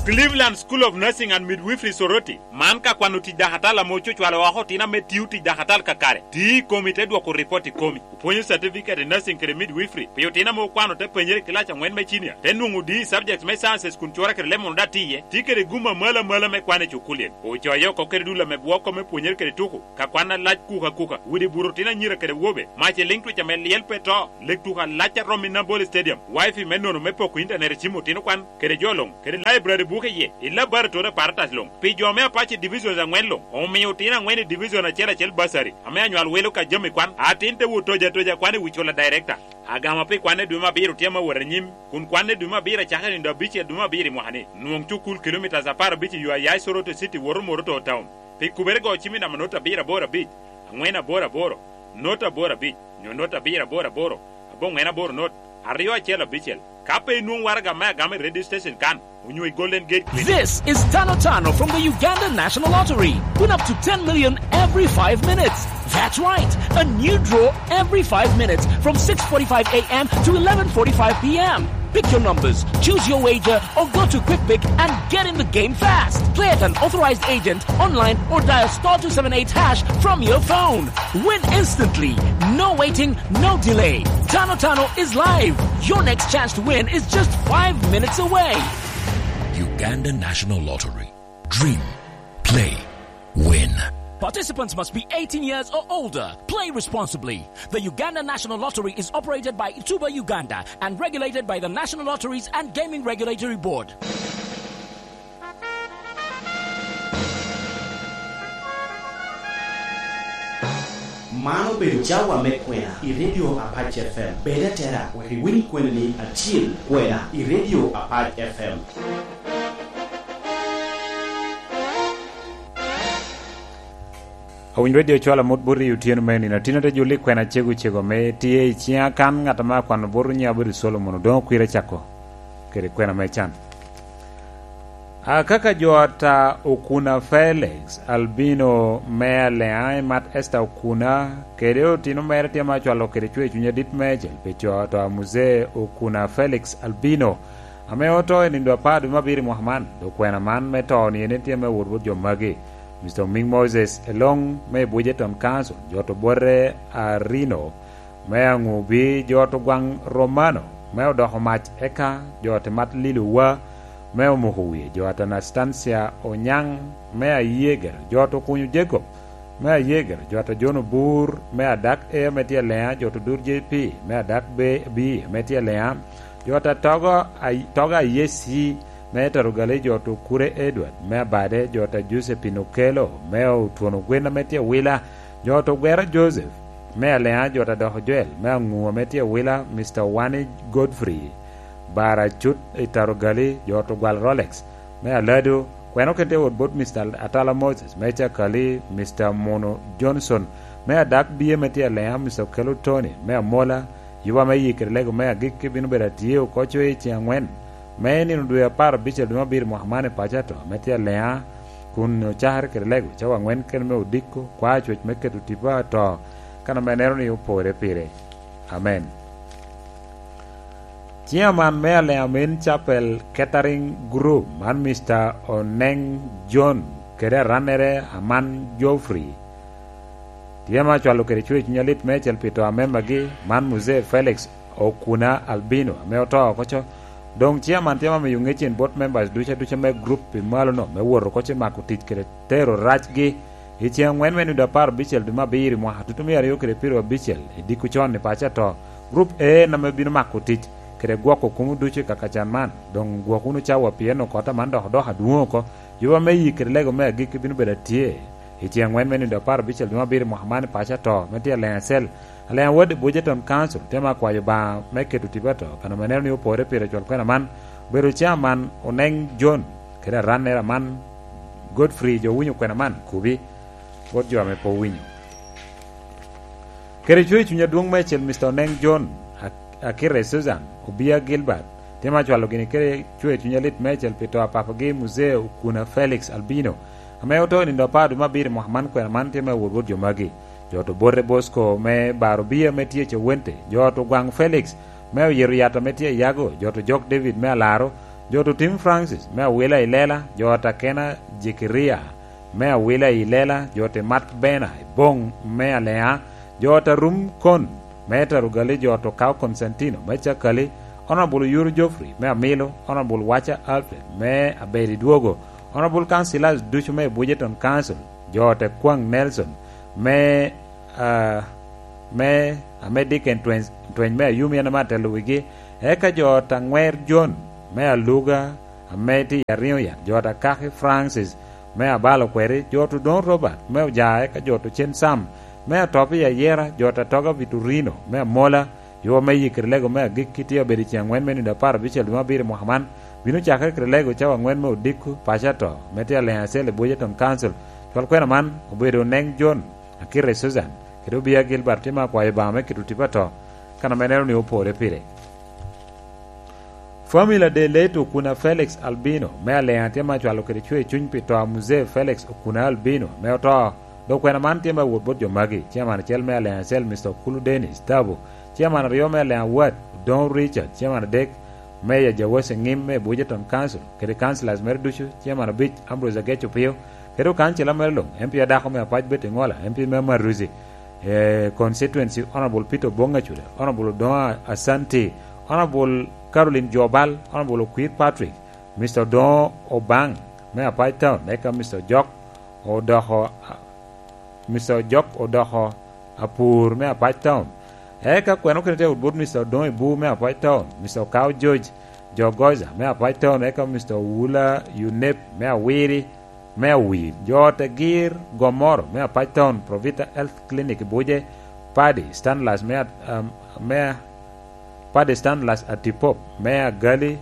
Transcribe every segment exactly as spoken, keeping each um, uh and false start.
Cleveland School of Nursing and Midwifery Soroti, man ka kwano tic dakatal ame ococwalo oko otino ame tio tic dakatal kakare, tio i komi te dwoko ripot i komi. Opwonyo certificate i nursing kede midwifery pi otino ame okwano te penyere i kilac angwen me cinia, te nwoŋo D E subjects me sciences kun cwora kede lemon daŋ tye iye, tye kede gum amalo amalo me kwan i cukulien. Ocoyo oko kede dul ame bwoko me pwonyere kede tuko, ka kwan alac kuka kuka, widi buto otino anyira kede wobe, mac i liŋ twic ame lyel pe to, lek tuko alac a romo i Nambole Stadium, wifi me nono me poko intanet i cim otino kwan, kede jo luŋ, kede library buke iye, i laboratory apparatus luŋ. Pi jo me Apache Divisions angwen luŋ, omio otino angwen i Division acel acel bursary, ame anywal wilo ka jami kwan, atin te wot toja toja kwan i wi cula director. Agama pi kwanne dwe me abiro tye ame wot anyim, kun kwanne dwe me abiro acakere nindo abicel dwe me abiro i mwaka-ni. Nwoŋ cukul kilomitas apar abic i yo a ya i Soroti City woto Moroto Town. Pi kubere go cim i namba not abiro aboro abic, angwen aboro aboro, not aboro abic, nyo not abiro aboro aboro, aboŋwen aboro not, aryo acel abicel. Ka pe inwoŋ waraga me agama i radio station kan, onyo i Golden Gate Clinic. This is Tano Tano from the Uganda National Lottery. Win up to ten million every five minutes. That's right, a new draw every five minutes from six forty-five a m to eleven forty-five p m. Pick your numbers, choose your wager, or go to Quick Pick and get in the game fast. Play at an authorized agent, online, or dial star two seven eight hash from your phone. Win instantly. No waiting, no delay. Tano Tano is live. Your next chance to win is just five minutes away. Uganda National Lottery. Dream, play, win. Participants must be eighteen years or older. Play responsibly. The Uganda National Lottery is operated by Tuba Uganda and regulated by the National Lotteries and Gaming Regulatory Board. Man obedo cawa me kwena i Radio Apac F M. Bed atera wek iwiny kwenani acil, kwena i Radio Apac F M. Awiny Radio cwalo amut bot i otyeno me nino. Tin ate juli kwena cego cego me tye i ciŋa kan, ŋat ame akwano bot nyiŋa obedo Solomon Odoŋo Kwira Cako kede kwena me can. Akaka jo ata Okuna Felix Albino me Aleŋa i mat Esther Okuna kede otino mere tye ma cwalo kede cwer cuny adit me cel pi co to a Muzee Okuna Felix Albino ame oto i nindo apar dwe me abiro i mwaka man. Dok kwena man me to-ni en tye me wot bot jo magi: Mister Oming Moses Elong me Bujeton Council, jo to bote Arino me Aŋubi, jo to gwaŋ Romano me Odoko Mac, eka jo to mat Lilowa me Omoko Wie, jo to Anastasia Onyaŋ me Ayeger, jo to Kunyo Jacob me Ayeger, jo to John Obur me Adak A me tye Aleŋa, jo to Dur J P me Adak B, B me tye Aleŋa, jo to Togo Ay-, Togo Ayesi me Tarugali, jo to Kure Edward me Abade, jo to Josephine Okello me Otwono Gwen ame tye Wila, jo to Gwera Joseph me Aleŋa, jo to Doko Joel me Aŋu ame tye Wila, Mister Wani Godfrey Bara Cut i Tarugali, jo to Gwal Rolex me Alado, kweno kede wot bot Mister Atala Moses me Cakali, Mister Mono Johnson me Adak Bie me tye Aleŋa, Mister Okello Tony me Amola, yuba me yik kede lego me agikki bino bedo atye oko coc i ceŋ aŋwen me nino dwe apar abicel dwe me abiro mwaka man i paco ato me tye Aleŋa, kun ocakere kede lego cawa aŋwen kene me odiko, kwa coc me keto tipo ato, kan ame neno ni opore pire. Amen. Chairman me Aleŋa Main Chapel Catering Group, man Mister Oneng John, kede arannere Aman Geoffrey, tye ma cwalo kede cwer cuny alit meicel pi to a membagi, man Muzee Felix Okuna Albino, ame oto oko co. Doŋ chairman tye ma miyo ŋec en bot members ducu aduca me group pi malo-nu me wot oko ci mako tic kede tero racgi i ceŋ aŋwen me nino apar abicel dwe me abiro i mwaka tutumia aryo kede pyeraryo abicel i diko con i paco ato. Group A en ame bino mako tic kede gwoko kumo ducu i kaka can man. Doŋ gwok wunu cawa, pien okota man dok odoko adwoŋ oko. Yuba me yik kede lego me agikki bino bedo atye i ceŋ aŋwen me nino apar abicel dwe me abiro i mwaka man i paco ato me tye Aleŋa Cell. Aleŋa Ward Budgeton Council tye ma kwayo Obaŋa me keto tipo ato, kan ame neno ni opore pire cwal kwena man. Obedo chairman Oneng John, kede arannere Aman Godfrey, jo winyo kwena man kubi bot jo ame pe owinyo. Kede cwer cuny adwoŋ meicel, Mister Oneng John, Ak-, Akire Susan, Obia Gilbert, tye ma cwalo gini kede cwer cuny alit meicel pi to a papagi Muzee Okuna Felix Albino, ame oto i nino apar dwe me abiro i mwaka man. Kwena man tye me wot bot jo magi: jo to Bote Bosco me Baro Bia me tye Cawente, jo to Gwaŋ Felix me Oyero Yat ame tye Ayago, jo to Jok David me Alaro, Jo to Tim Francis me Awila i Lela, jo ta Kena Jekeria me Awila i Lela, jo te Mat Bena i Boŋ me Alea, jo ta Rum Kon me Tarugali, jo to Kao Konstantino me Cakali, Honorable Yuru Geoffrey me Amilo, Honorable Wacha Alfred me Abedi Dwogo, Honorable Councilors ducu me Budgeton Council, jo te Kwaŋ Nelson me, ah, me, ame Dickens Tweny, Tweny me Ayumi en ame atelo wigi, eka jo ta Ŋwer John me Aluga ame tye i Ariŋo Yat, jo ta Kaki Francis me Abalo Kweri, jo to Don Robert me Oja, eka jo to Cen Sam me Atop i Ayera, jo ta Toga Vitorino me Amola, yo me yikere lego me agikki tye abedo i ceŋ aŋwen me nino apar abicel dwe me abiro i mwaka man, bino cakere kede lego cawa aŋwen me odiko paco ato, me tye aleŋ acel i Budgeton Council. Cwal kwena man obedo Oneŋ John, Akite Susan, kede Obia Gilbert tye me akwayo Obaŋa me keto tipo ato, kan ame neno ni opore pire. Family a Deleto Okuna Felix Albino me Alea tye me acwalo kede cwer cuny pi to a Muzee Felix Okuna Albino me oto. Dok kwena man tye me awot bot jo magi, Chairman acel me Alea acel, Mister Okulu Dennis Tabo, Chairman aryo me Alea Ward, Odoŋo Richard, Chairman adek, Meya Jawasi Ŋim me Budgeton Council, kede councillors mere ducu, Chairman abic, Ambrose Agec Opio, kede okancila mere luŋ, M P adako me Apac Betty Ŋola, M P me Maruzi, eh, constituency, Honorable Peter Oboŋ Acuda, Honorable Odoŋo Asanti, Honorable Caroline Jobal, Honorable Okwir Patrick, Mister Odoŋo Obaŋ me Apac Town, eka Mister Ojok odoko, Mister Ojok odoko Apur me Apac Town. Eka kwena okene tye awot bot Mister Odoŋo Ibu me Apac Town, Mister Okao George Jogoza me Apac Town, eka Mister Owula Yunep me Awiri, me Awir. Jo te Gir Gomoro me Apac Town, Provita Health Clinic i Buje, Paddy Stanlas me At-, um, me Paddy Stanlas Atipop me Agali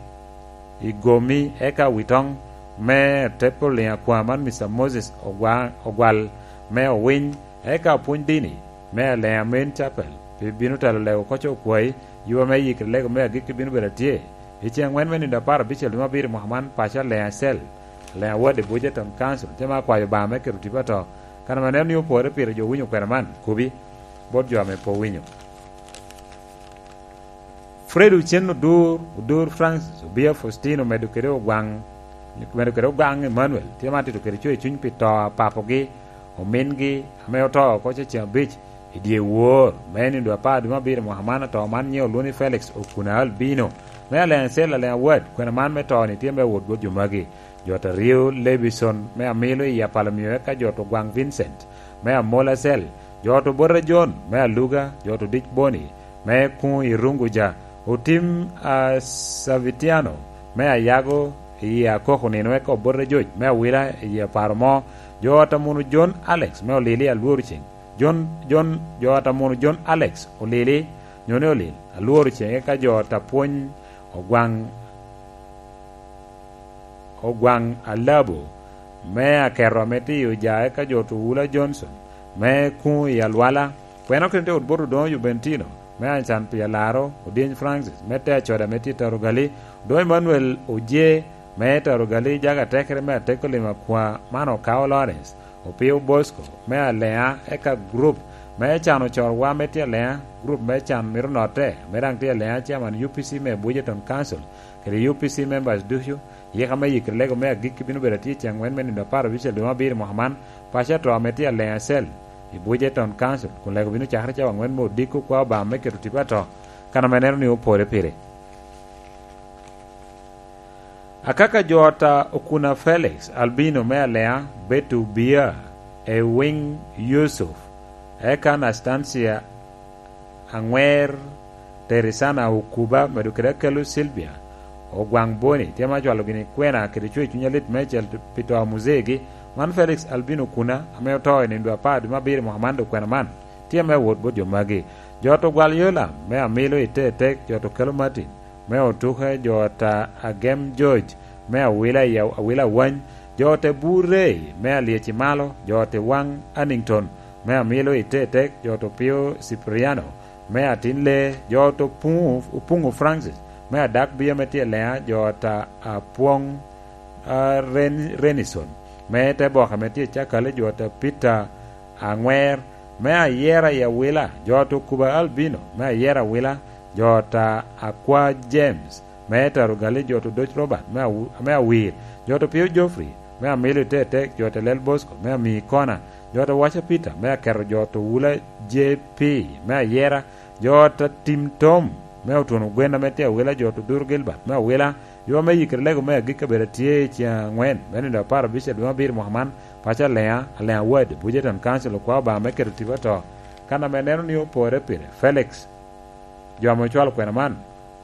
i Gomi, eka Witoŋ me Tepo Liŋ Akwa man Mister Moses Ogwa-, Ogwal me Owiny, eka Opwony Dini me Alea Main Chapel, pi bino telo lego koc okwayi, yuba me yikre lego me agikki bino bedo atye. I ceŋ aŋwen me nino apar abicel dwe me abiro i mwaka man, paco Alea Cell, Alea Ward i Budgeton Council, tye ma akwayo Obaŋa me keto tipo ato. Kan ame aneno ni opore pire jo winyo kwena man, kobi bot jo ame pe owinyo. Fred Ochen Odur, Odur Francis, Obia Faustino, medo kede Ogwaŋ, medo kede Ogaŋ Emmanuel, tye ma tito kede cwer cuny pi to a papogi, omingi, ame oto oko cecen abic i dye wor, me nino apar dwe me abiro mwaka man, ato man nyiŋe olwoŋo ni Felix Okuna Albino, me Alea Cell, Alea Ward, kwena man me to-ni tye me wot bot jo magi. Jo ta Rio Levison me Amilo i Apalomio, eka jo to Gwaŋ Vincent me Amola Cell, jo to Bota John me Aluga, jo to Dic Boni me Kuŋ i Runguja, Otim a Savitiano me Ayago i Akoko nino, eka Obote Joc me Awila i Aparo Mo, jo ta Muno John Alex me Olili Alworo Ceŋ, John, John, jo ta Muno John Alex Olili, nyo ni Olil Alworo Ceŋ, eka jo ta Pwony Ogwaŋ Ogwaŋ Alabo me Aketo ame tye i Oja, eka jo to Wula Johnson me Kuŋ i Alwala, kwena okene tye wot bot Odoŋo Jubentino me Ancan pi Alaro, Odyeny Francis me Te Acoda ame tye i Tarogali, Odoŋo Emmanuel Oje me Tarogali, Jaga Tekere me Ateko Lim Akwa, man Okao Lawrence, Opio Bosco me Alea, eka gurup me can ocorwa me tye Alea, gurup me can mito notte, me daŋ tye Alea, Chairman U P C me Budgeton Council, kede U P C members ducu, yika me yikre lego me agikki bino bedo atye i ceŋ aŋwen me nino apar abicel dwe me abiro i mwaka man, paco ato ame tye Alea Cell i Budgeton Council, kun lego bino cakere cawa aŋwen me odiko kwa Obaŋa me keto tipo ato, kan ame neno ni opore pire. Akaka jo ta Okuna Felix, Albino me Alea, Betu Bia, Ewing Yusuf, eka Anastasia Aŋwer, Terisana Okuba, medo kede Akelu Silvia Ogwaŋ Boni, tye ma cwalo gini kwena kede cwer cuny alit meicel pi to a Muzegi, man Felix Albino Okuna, ame oto i nino dwe apar dwe me abiro i mwaka man, dok kwena man tye me wot bot jo magi. Jo to Gwal Yolam me Amilo i Tetek, jo to Kelo Martin me Otuke, jo ta Agem George me Awila i Aw-, Awila Awany, jo te Bur Rey me Alyeci Malo, jo te Waŋ Annington me Amilo i Tetek, jo to Pio Cipriano me Atin Lee, jo to Puŋu, Opuŋu Francis me Adak Bia me tye Lea, jo ta Apwoŋ, a, Ren-, Renison me te Boka me tye Cakale, jo ta Peter Aŋwer me Ayera i Awila, jo to Kuba Albino me Ayera Awila, jo ta Akwa James me Taro Gali, jo to Doc Robert me Awu-, me Awir, jo to Pio Geoffrey me Amilo Tetek, jo to Lel Bosco me Ami Kona, jo to Waca Peter me Aketo, jo to Wula J P me Ayera, jo to Tim Tom me Otuno Gwen ame tye Awila, jo to Duru Gilbert me Awila, jo ame yikere lego me agikki abedo atye i ceng angwen me nino apar abic a dwe me abiro mwaka man, paco Alea, Alea Ward, Bujeton Council, okwao Obaŋa me keto tipo ato. Kan ame neno ni opore pire, Felix, jo ame ocwalo kwena man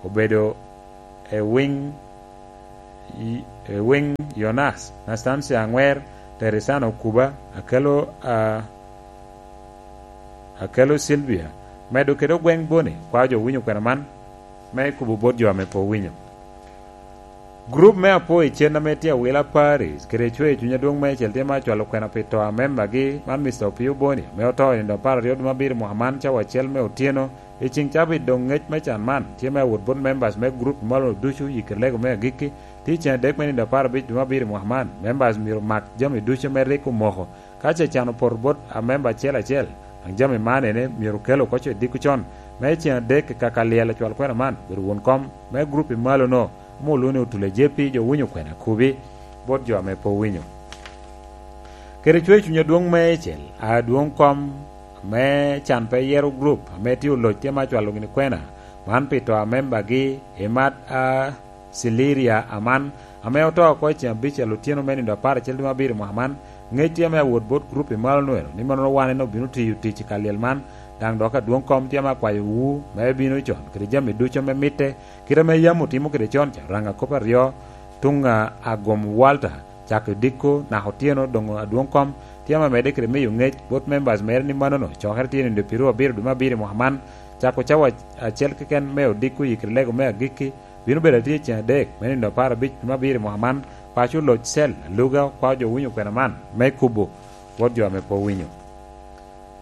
obedo Ewing, Ewing Yonas, Nastancia Aŋwer, Teresano Kuba, Akelo, a, Akelo Silvia, medo kede Ogweng Boni, kwao jo winyo kwena man, me kubo bot jo ame pe owinyo. Gurup me Apo i Cen ame tye Awila Paris, kede Cweyo Cuny Adwoŋ Meicel tye ma acwalo kwena pi to a membagi, man Mister Opio Boni, ame oto i nino apar aryo dwe me abiro mwaka man, cawa acel me otyeno. I ceŋ cabit doŋ ŋec me can man tye me awot bot members me gurup malo ducu i Kirlego me agikki. Tye i ceŋ adek me nino apar abic dwe me abiro mwaka man, members myero mak jami ducu ame rik omoko. Ka ce can opoto bot a member acel acel, daŋ jami man ene myero kel oko co i diko con, me i ceŋ adek i kaka lyel acwal kwena man, bedo won kom me gurup i malo-no, ame olwoŋo ni Otula J P, jo winyo kwena kubi bot jo ame pe owinyo. Kede Cweyo Cuny Adwoŋ Meicel, adwoŋ kom me can pe yero gurup ame tye oloc tye ma cwalo gini kwena man pi to a membagi i mat a Ciliria Aman, ame oto oko i ceŋ abicel otyeno me nino apar acel dwe me abiro mwaka man. Ŋec tye ame awot bot gurup i malo nwero ni mannono wan en obino tiyo tic i ka lyel man, daŋ dok adwoŋ kom tye ame akwayo wu me bino con kede jami ducu ame mitte, kite ame yam otimo kede con ca. Raŋ akop aryo, tuŋ a Agom Walter, cako i diko naka otyeno, doŋ adwoŋ kom tye ame medde kede miyo ŋec bot members mere ni mannono cokere tye nino pyeraryo abiro dwe me abiro i mwaka man, cako cawa acel keken me odiko i kede lego me agikki, bino bedo atye i ceŋ adek me nino apar abic dwe me abiro i mwaka man. Paco Oloc Cel Aluga okwao jo winyo kwena man me kubo bot jo ame pe owinyo.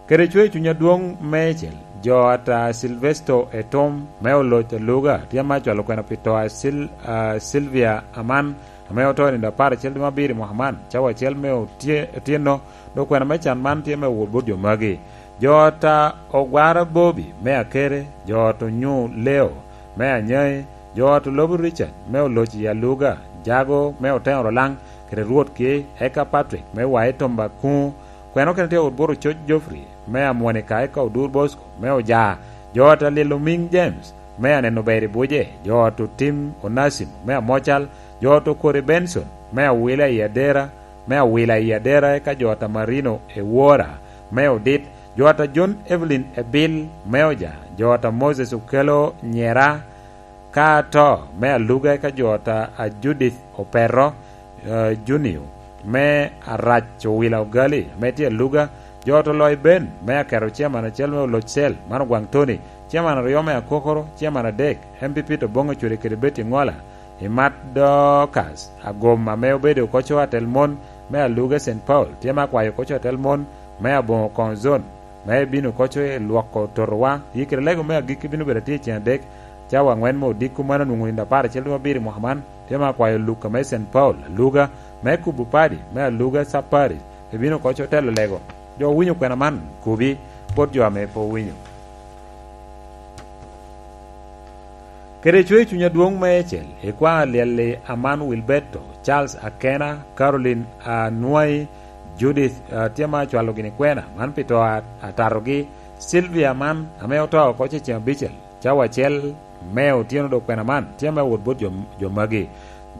Kede Cweyo Cuny Adwoŋ Meicel, jo ata Silvesto Etom me Oloc Aluga tye ame acwalo kwena pi to a Sil-, a Silvia Aman, ame oto i nino apar acel dwe me abiro i mwaka man, cawa acel me otye-, otyeno, dok kwena me can man tye me wot bot jo magi. Jo ata Ogwara Bobi me Akere, jo ata Onyu Leo me Anyai, jo ata Olobo Richard me Oloc i Aluga, Jago me Oteŋo Rolaŋ, kede Rwot Ki, eka Patrick me Wae Tomba Kuŋo, kwena okene tye awot bot Ococ Geoffrey me Amwonika, eka Odur Bosco me Oja, jo ata Lilo Miŋ James me Aneno Ber i Buje, jo ata Otim Onasimo me Amocal, jo ata Okori Benson me Awila i Adera, me Awila i Adera, eka jo ata Marino Ewora me Odit, jo ata John Evelyn Ebil me Oja, jo ata Moses Okelo Nyera, ka ato me Aluga, eka jo ata a Judith Opeto, eh, Junio me Arac Owila Ogali ame tye Aluga, jo ata Oloc Ben me Aketo, chairman acel me Oloc Cel man Ogwaŋ Tony, chairman aryo me Akokoro, chairman adek M P P Toboŋo Cwede kede Betty Ŋola, i mat Dorcas Agom ame obedo koco atel mon me Aluga Saint Paul, tye me akwayo koco atel mon me Aboŋo Koŋ Zone, me bino koco i lwoko totowa. Yikere lego me agikki bino bedo atye i ceŋ adek, cawa aŋwen me odiko, mano onwoŋo nino apar acel dwe me abiro i mwaka man. Tye me akwayo Luka me Saint Paul Aluga, me kubo padi me Aluga Sub Parish, ebino koco telo lego. Jo owinyo kwena man, kubi bot jo ame pe owinyo. Kede Cweyo Cuny Adwoŋ Meicel, ikwaŋ alyel-li Aman Wilberto, Charles Akena, Caroline Anwai, Judith, ah, tye ma acwalo gini kwena man pi to a-, atatogi, Sylvia Aman, ame oto oko ce ceŋ abicel, cawa acel me otyeno, dok kwena man tye me wot bot jo, jo magi.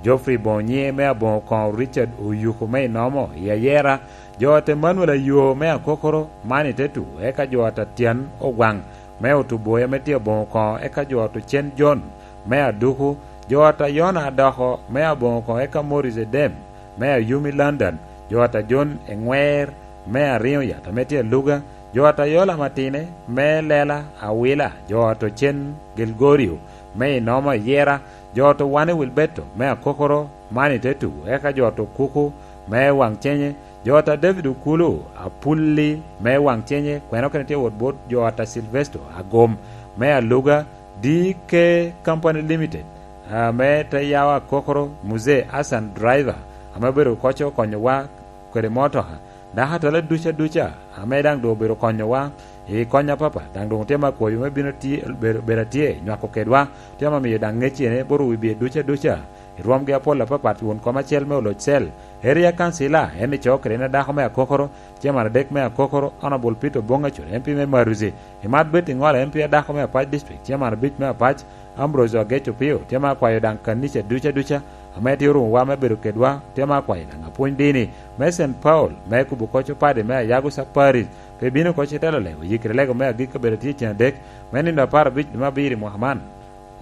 Geoffrey Bonye me Aboŋo Koŋo, Richard Oyuko me Inomo i Ayera, jo ata Emmanuel Ayo me Akokoro man i Tetu, eka jo ata Tyen Ogwaŋ me Otuboya me tye Aboŋo Koŋo, eka jo ata Ocen John me Aduku, jo ata Yona Adoko me Aboŋo Koŋo, eka Morris Edem me Ayumi London, jo ata John Eŋwer me Ariŋo Yat ame tye Aluga, jo ata Yola Matine me Lela Awila, jo ata Ocen Gilgorio me Inomo Ayera, jo ata Wane Wilberto me Akokoro man i Tetu, eka jo ata Okuku me Waŋcenye, jo ata David Okulu Apulli me Waŋcenye, kwena okene tye wot bot jo ata Silvesto Agom me Aluga, D K Company Limited, ame te yawa Akokoro, Muzee Hassan Driver, ame obedo koco konyowa kede motoka, dako atala duca duca, ame daŋ doŋ obedo konyowa, I kony apapat, daŋ doŋ otye ame akwayo me bino atye, bedo, bedo atye, nywako kedwa, otye ame amiyo daŋ ŋeccene bot owi bye duca duca, i rwomgi apol apapat, won kom acel me oloc cel, Eria Kancila, en ico kede en adako me akokoro, Chairman adek me akokoro, Honorable Peter Oboŋ Acur, M P me Maruzi, i mat bet i ŋola M P adako me Apac District, Chairman abic me Apac, Ambrose Agec Opio, tye ame akwayo daŋ kanica duca duca, ame tye orumowa me bedo kedwa, tye ame akwayo daŋ apwony dini, me Saint Paul, me kubo koc opadi me Ayago Saparit, pe bino koc i telo lego, yikere lego me agikki obedo tye cen adek, me nino apar abic dwe me abiro i mwaka man.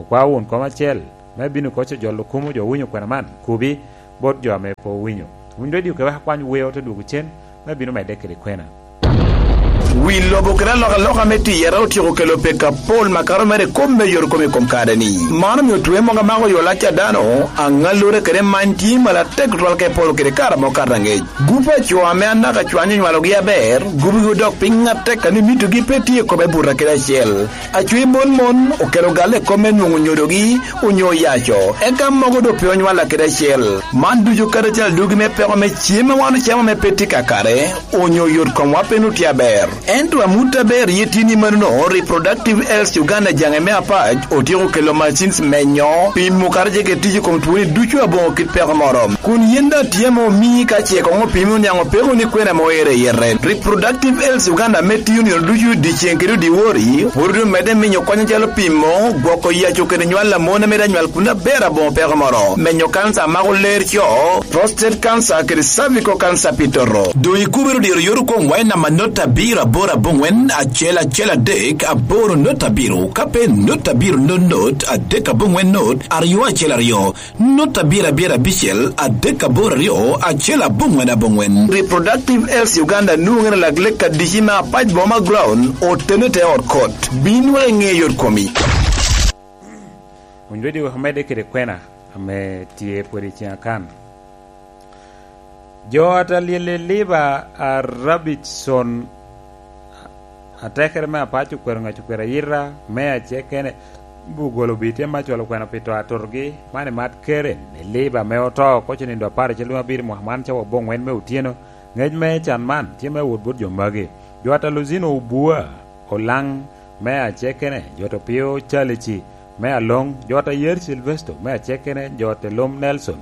Okwao won kom acel, me bino koc ojolo kumo jo owinyo kwena man, kubi, bot jo ame pe owinyo. Winy redio kewek akwany weo te dwogo cen, me bino medde kede kwena. Wi lobo kede alokaloka me tiyere otyeko kelo peko apol makato mere i kop me yot kom i kom kare-ni. Man omio twe mogo amako yo lac a dano, aŋallure kede many tye malatek tutwal ka ipolo kede kare amo kato aŋec. Gup a co ame anaka cwanyo onywalogi aber, gubigi odok piny atek a ni mitogi pe tye i kome buta kede acel. Acwi mon mon okelo galle i kop me nwoŋo nyodogi onyo oyaco, eka mogo doŋ pe onywalla kede acel. Man ducu kadi acel adugi me peko me cem a wan ocamo ame pe tye kakare, onyo yot komwa pe nut tye aber. Ento amut aber ye tye ni manono, Reproductive Health Uganda jaŋe me Apac otyeko kelo machines menyo, pimo kadi ce kede tic i kom twoni ducu aboŋo kit peko moro. Kun yin daŋ tye ame omii ka ce koŋ opimi oniaŋ opeko ni kwena ame oero i yete. Reproductive Health Uganda ame tiyo nino ducu dyeceŋ kede dyewor, pwod omedde miyo kony acalo pimo, gwoko yaco kede nywal a mon ame daŋ nywal kun aber aboŋo peko moro, menyo kanca a mako ler co, prostate cancer kede cervical cancer pi toto. Doŋ ikubere diro yot kom wai namba not abiro aboro aboŋwen acel acel adek aboro not abiro, ka pe not abiro not not adek aboŋwen not aryo acel aryo. Nut abiro abiro abicel adek aboro aryo acel aboŋwen aboŋwen. Reproductive Health Uganda nwoŋere lak lek adici me Apac Boma Ground, otene te ot kot. Bin wek iŋe yot komi. Winy redio wek omedde kede kwena ame tye pwod i cen akan. Jo a ta lyel i liba a Rabidson atekere me Apac okwero ŋec okwero ayita me acekene, bugolo bi tye me acwalo kwena pi to atutogi, man i mat Karen, i liba me oto, koc onindo apar acel dwe abiro mwaka man cawa oboŋwen me otyeno. Ŋec me can man tye me wot bot jo magi. Jo a ta Luzino Obua, Olaŋ me acekene, jo a ta Opio Calici me Aloŋ, jo a ta Yer Silvesto me acekene, jo a ta Lom Nelson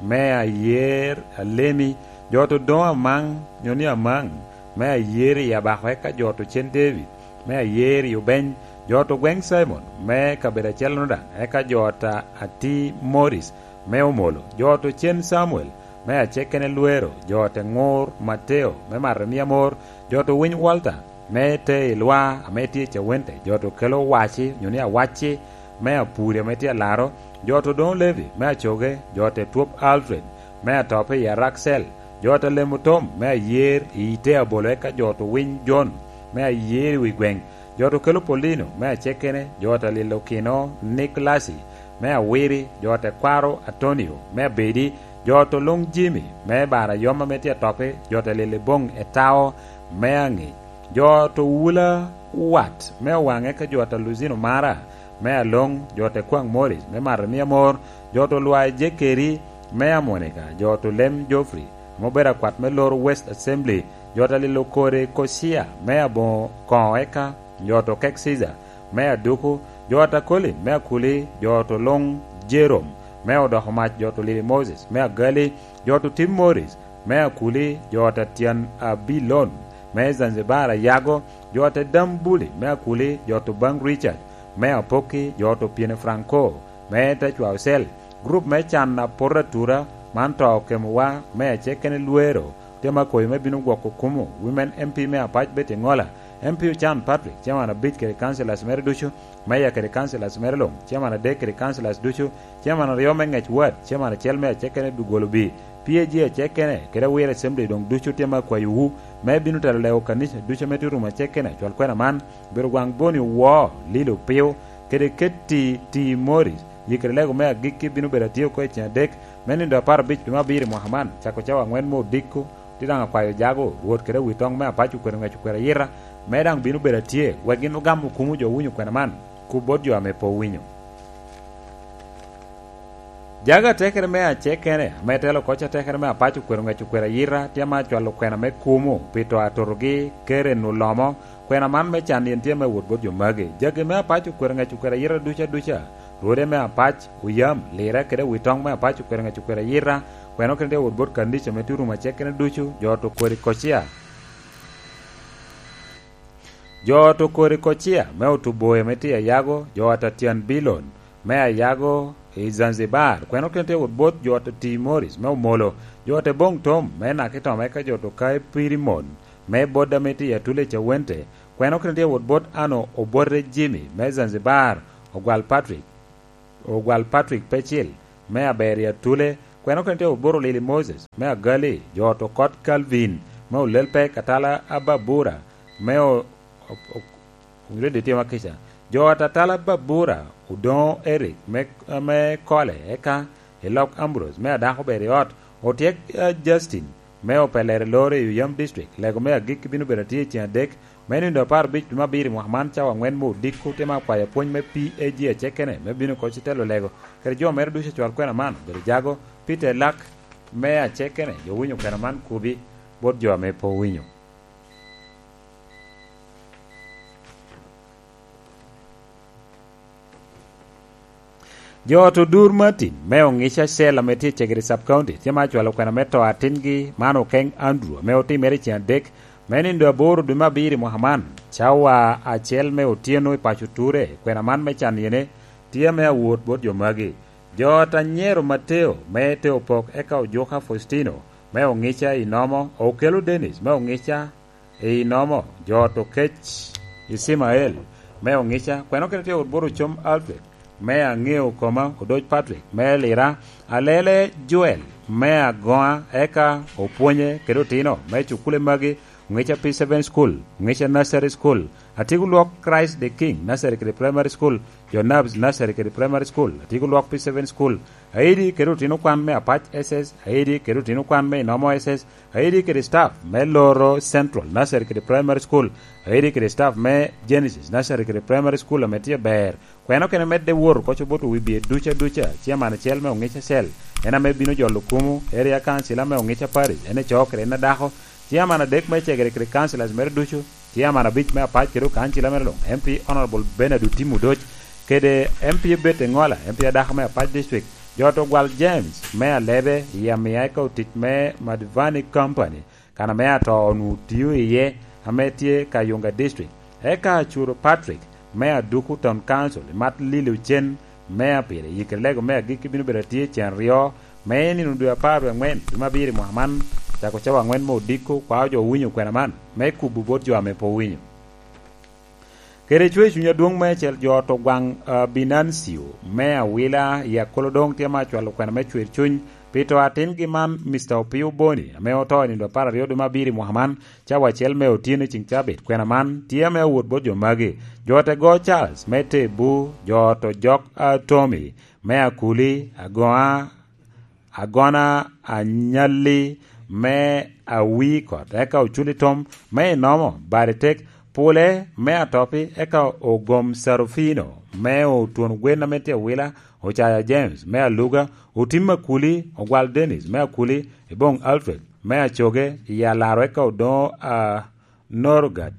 me Ayer Alemi, jo a ta Odoŋo Amaŋ, nyo ni Amaŋ, me Ayer i Abako, eka jo a ta Ocen David, me Ayer i Obeny, jo a ta Ogweŋ Simon, me kabedo acel-lono daŋ, eka jo a ta Ati Morris, me Omolo, jo a ta Ocen Samuel, me acekene Lwero, jo a ta Ŋur Mateo, me Mato Emia Mor, jo a ta Owiny Walter, me te i Lwa, ame tye i Cawente, jo a ta Okelo Owaci, nyo ni Awacci, me Apuri, ame tye Alaro, jo a ta Odoŋo Levi, me Acoge, jo a ta Etwop Alfred, me Atope i Araksel, jo a ta Lemo Tom, me Ayer i Ite Abolo, eka jo a ta Owiny Jon, me Ayer i Wi Gweŋ, jo a ta Okelo Polino, me acekene, jo a ta Lilo Kino Niklasi, me Awiri, jo a ta Kwaro Atonio, me Abedi, jo a ta Oluŋ Jimi, me Bara Yom ame tye Atope, jo a ta Lilo Boŋ Etao, me Aŋic, jo a ta Owula Wat, me Owaŋe, ka jo a ta Luzino Mara, me Aloŋ, jo a ta Kwaŋ Morris, me Mato Emia Mor, jo a ta Olwa Ejekeri, me Amonika, jo a ta Olem Geoffrey, ame obedo akwat me loro West Assembly, jo a ta Lilo Kore Kocia, me Aboŋo Koŋo, eka jo a ta Okek Caesar, me Aduku, jo a ta Colin, me Akuli, jo a ta Oluŋ Jerome, me Odoko Mac, jo a ta Olili Moses, me Agali, jo a ta Otim Morris, me Akuli, jo a ta Tyen Abilon, me Zanzibar Ayago, jo a ta Dambuli, me Akuli, jo a ta Obaŋ Richard, me Apokki, jo a ta Opyeni Franco, me Tecwa Ocel, gurup me can a poto atura, man to okemowa, me acekene Lwero, tye me akoyo me bino gwoko kumo, Women M P me Apac Betty Ŋola, M P Ocan Patrick, Chairman abic kede councillors mere ducu, Mayor kede councillors mere luŋ, Chairman adek kede councillors ducu, Chairman aryo me Ŋec Ward, Chairman acel me acekene Dugolo B, P A G acekene, kede Awiro Assembly doŋ ducu tye me akwayowu, me bino telo lego kanica ducu ame tye orumo acekene, cwal kwena man, Obedo gwaŋ Boni Owo, Lilo Piu, kede Ketti Ti Morris, yikere lego me agikki bino bedo atye oko i ceng adek me nino apar abic dwe me abiro i mwaka man, cako cawa aŋwen me odiko, tye daŋ akwayo jago, Rwot kede awitoŋ me Apac okwero ŋec okwero ayita, me daŋ bino bedo atye, wek gin ogam okumo jo owinyo kwena man, kub bot jo ame pe owinyo. Jago atekere me acekene, ame telo koc atekere me apac okwero ngec okwero ayita, tye ame acwalo kwena me kumo pi to atotogi, kere nu lomo, kwena man me can yen tye me wot bot jo magi. Jagi me apac okwero ngec okwero ayita duca duca, rwode me apac, oyam, lira kede wi toŋ me apac okwero ngec okwero ayita, kwena okene tye wot bot kandica me turum acekene ducu, jo to kodi kocia. Jo ot okori kocia me otuboyo me tye ayago, jo ot atyan bilon me ayago i Zanzibar, kweno kene tye wot bot jo ot ati Morris me omolo, jo ot eboŋ tom me naki tom eka jo ot okae piri mon me bodda me tye atule i Cawente, kweno kene tye wot bot ano obote Jimmy me Zanzibar, ogwal Patrick, ogwal Patrick Pecil me aber i atule, kweno kene tye wot bot olili Moses me agali, jo ot okot Calvin me olel pek atala ababura me o- o- o- Owinjo dye tye makica. Jo ot atala Babura odoŋo Eric me, me Kole eka i lok Ambrose me adako obedo i ot. Otyek, eh, Justin me opelere loro i Oyam District. Lego me agikki bino bedo atye i ceng adek me nindo apar abic dwe me abiro i mwaka man cawa angwen me odiko. Tye me akwayo apwony me P A G acekene me bino koc i telo lego kede jo mere ducu acwal kwena man obedo jago. Peter Lak me acekene jo winyo kwena man kubi bot jo ame pe owinyo. Jo ot odur Martin me Ongica Cell ame tye i Cegere Sub County tye ma acwalo kwena me to atingi man Okeng Andrew ame otimere i ceng adek me nindo aboro dwe me abiro i mwaka man, cawa acel me otyeno i paco Ture. Kwena man me can yene tye ame awot bot jo magi. Jo ot anyero Mateo me Teopok eka Ojuka Faustino me Ongica i Nomo, Okelo Dennis me Ongica i Nomo, jo ot Okec Icimael me Ongica, kweno kene tye wot bot Ocom Alfred me Aŋeo Koma, Odoc Patrick me Lira, Alele Joel me Agoŋa, eka Opwonye kede otino me cukule magi, Ongica P seven School, Ongica Nursery School, Atiko Lwok Christ the King Nursery kede Primary School, jo Nabs Nursery kede Primary School, Atiko Lwok P seven School, Aidi kede otino kwan me Apac S S, Aidi kede otino kwan me Inomo S S, Aidi kede staff me Loro Central Nursery kede Primary School, Aidi kede staff me Genesis Nursery kede Primary School ame tye ber. Kweno kene medde woro koc oboto wi bye duca duca, ciaman acel me Ongica Cell, en ame bino jolo kumo, area council ame Ongica Parish, en ecoo kede en adako, ciaman adek me cegere kede councilors mere ducu, ciaman abic me Apac kede okancila mere luŋ, M P Honorable Bernard Otim Odoc, kede M P Ebet Eŋola, M P adako me Apac District, jo ot Ogwal James me Alebe i Amia eka otic me Madivani Company, kan ame ato onwoŋo tio iye, ame tye Kayunga District, eka Acuro Patrick me Aduku Town Council i mat lilo cen me apire, yikere lego me agikki bino bedo atye cen aryo, me nino dwe apar wie aŋwen dwe me abiro i mwaka man, cako cawa aŋwen me odiko, kwao jo owinyo kwena man, me kubo bot jo ame pe owinyo. Kede cwer cuny adwoŋ me acel jo ot Ogwaŋ, ah, Binancio me Awila i Akolodoŋ tye ma acwalo kwena me cwer cuny pi to atingi man, Mister Opio Boni, ame oto i nino apar aryo dwe me abiro i mwaka man, cawa acel me otyeno i ceng cabit. Kwena man tye ame awot bot jo magi, jo ot Ego Charles me Tebu, jo ot Ojok, ah, Tommy me Akuli, Agoŋa, Agona Anyalli me Awikot, eka Oculi Tom me Inomo, Baritek, Pule me Atopi, eka Ogom Sarufino me Otwon Gwen ame tye Awila, Ocaya James me Aluga, Otim Akuli, Ogwal Dennis me Akuli, Ebong Alfred me Acoge, i Alaro, eka Odoŋo, a, Norgad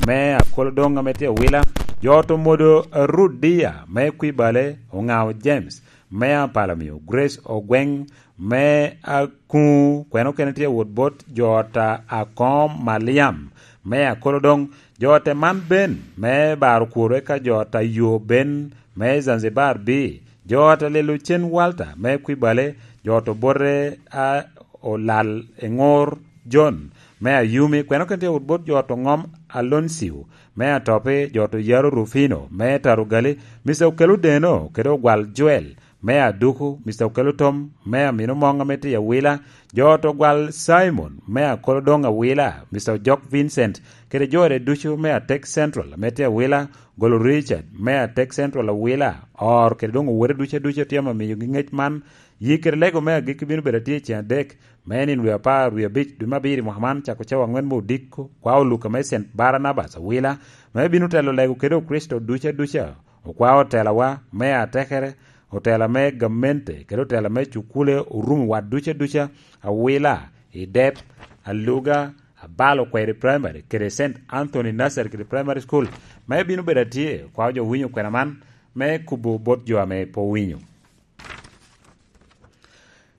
me Akolodoŋ ame tye Awila, jo ot Omodo Rudia me Kwibale, Oŋao James me Apalamio, Grace Ogweŋ me Akuŋu, kweno kene tye wot bot jo ot a Akoŋo Maliam me Akolodoŋ, jo ot man ben me Baro Kworo, eka jo ot a Yo ben me Zanzibar bi, jo ot a Lelo Cen Walter me Kwibale, jo ot Obote a Olal Eŋor John me Ayumi, kweno kene tye wot bot jo ot Oŋom Aloncio me Atopi, jo ot Oyaro Rufino me Tarugali, Mister Okelo Deno kede Ogwal Joel me Aduku, Mister Okelo Tom me Amino Moŋ ame tye i Awila, jo ot Ogwal Simon me Akolodoŋ Awila, Mister Ojok Vincent kede jore ducu me Atek Central ame tye Awila, Golo Richard me Atek Central Awila, Or kede doŋ owote ducu aducu tye ame omiyogi ŋec man. Yik kede lego me agikki bino bedo atye i ceng adek me nino dwe apar wie abic dwe me abiro i mwaka man, cako cawa aŋwen me odiko, kwao Luka me Cent Baranabas Awila, me bino telo lego kede Okricito ducu aduca, okwao otelawa me atekere, otela me gamente kede otela me cukule orumo wat duca duca, Awila, Idep, Aluga, Abalo Kweri Primary kede Saint Anthony Nursery kede Primary School. Me bino bedo atye, kwa jo winyo kwena man me kubo bot jo ame pe owinyo.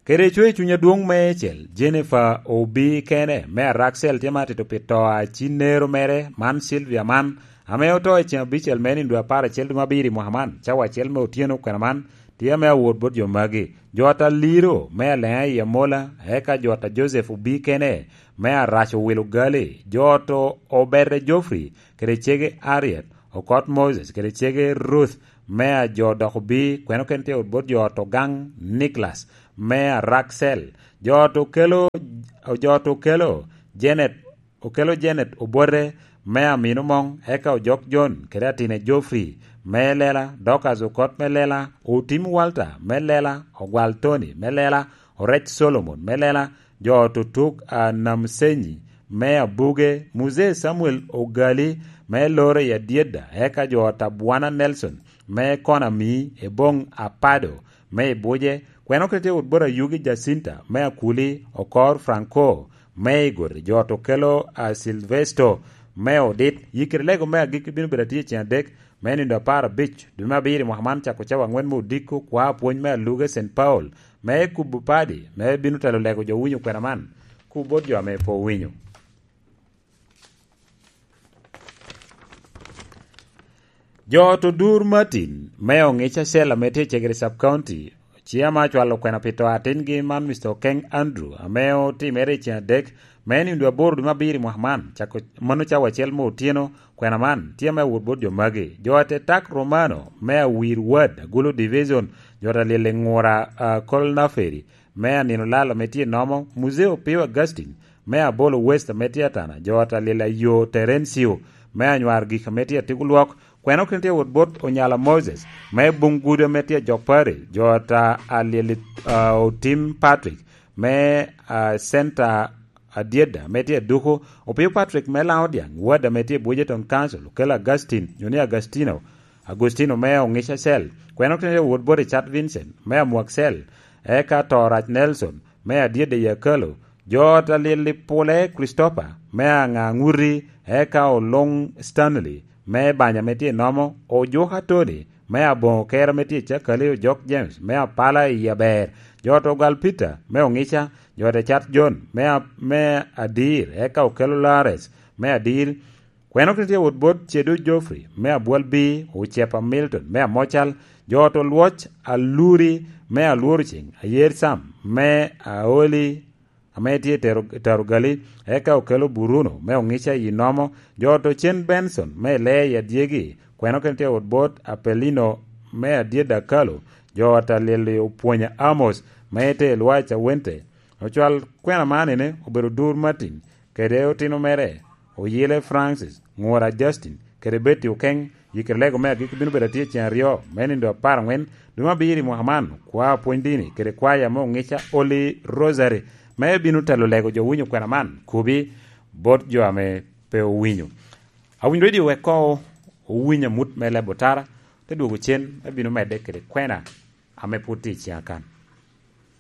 Kede coc i cuny adwoŋ meicel, Jennifer Obi kene, me Araksel tye ma atito pi to a cinnero mere, man Sylvia man, ame oto i ceŋ abicel me nindo apar acel dwe me abiro i mwaka man, cawa acel me otyeno kwena man, tye ame awot bot jo magi. Jo ata Liro, me Aleŋa i Amola, eka jo ata Joseph Obi kene, me Arac Owilo Gali, jo oto Obere Geoffrey, kede cege Ariet, Okot Moses, kede cege Ruth, me a jo dok Obi, kweno kene tye wot bot jo oto Gang, Nicholas, me Araksel, jo oto kelo, jo oto kelo Janet, okelo Janet obote, me amino moŋ, eka ojok John, kede atine Geoffrey, me lela, Dorcas okot me lela, otim Walter, me lela, ogwal Tony, me lela, orec Solomon, me lela, jo oto tuk a Namsenyi, me abuge, Muzee Samuel Ogali, me loro i Adyeda, eka jo oto Abwana Nelson, me Konami, Ebong Apado, me Ibuje, kweno kete wot bot Ayugi Jacinta, me Akuli, Okor Franco, me Igor, jo oto kelo a Silvesto, me Odit, yikere lego me agikki bino bedo atye i ceŋ adek, me nindo apar abic, dwe me abiro i mwaka man cako cawa angwen me odiko kwa apwony me aluge Saint Paul, me kubo padi, me bino telo lego jo winyo kwena man, ku bot jo ame pe owinyo. Jo oto Dur Martin, me Ongica Cell ame tye i Cegere Sub County, ci ame acwalo kwena pi to atingi man Mister Okeng Andrew, ame otimere i ceŋ adek, me nindo aboro dwe me abiro i mwaka man, cako mano cawa acel me otyeno, kwena man tye ame awot bot jo magi. Jo ate Tak Romano, me Awir Ward, Agulu Division, jo ata Lili Ngura, a, Kol Naferi, me Anino Lal ame tye i Nomo, Muzee Opio Augustine, me Abolo West ame tye Atana, jo ata Lili Ayo Terencio, me Anywar Gik ame tye Atigo Lwok, kweno kene tye wot bot Onyala Moses, me Bung Gudo ame tye Jok Pari, jo ata Alyeli, a, Otim Patrick, me, a, Center Adyeda ame tye Aduku, Opio Patrick me Laŋo Dyaŋ, Ward ame tye Bujeton Council, Okello Augustine, nyo ni Agustino, Agustino me Ongica Cell, kweno kene tye wot bot Richard Vincent, me Amwak Cell, eka Torac Nelson, me Adyeda i Akalo, jo ata Lili Pule Christopher, me Aŋaŋuti, eka Oluŋ Stanley, me Banya ame tye i Nomo, Ojuka Tony, me Aboŋo Kera ame tye i Cakali, Ojok James, me Apala i Aber, jo ata Ogal Peter, me Ongica, jo ata Cat John, me a-, me Adir, eka Okelo Lares, me Adir, kweno kene tye wot bot Cedu Geoffrey, me Abwal Bi, Ocepa Milton, me Amocal, jo ata Olwoc Aluri, me Alworo Ceŋ, Ayer Sam, me Aoli, ame tye i Tero-, Taro Gali, eka Okelo Bruno, me Ongica i Nomo, jo ata Ocen Benson, me Lee i Adyegi, kweno kene tye wot bot Apelino, me Adyeda Kalo, jo ata Lili Opwonya Amos, me tye i Lwac Awente, ocwal kwena man ene obedo Dur Martin, kede otino mere, Oyele Francis, Ŋura Justin, kede Betty Okeng, yikere lego me agikki bino bedo atye ceŋ aryo, me nindo apar aŋwen, dwe me abiro i mwaka man, kwa pwony dini, kede kwaya me Ongica Holy Rosary, me bino telo lego jo winyo kwena man, kubi bot jo ame pe owinyo. Awiny Radio wek koŋ owiny amut me leb otara, te dwogo cen, me bino medde kede kwena ame pwod tye i ceŋ akan.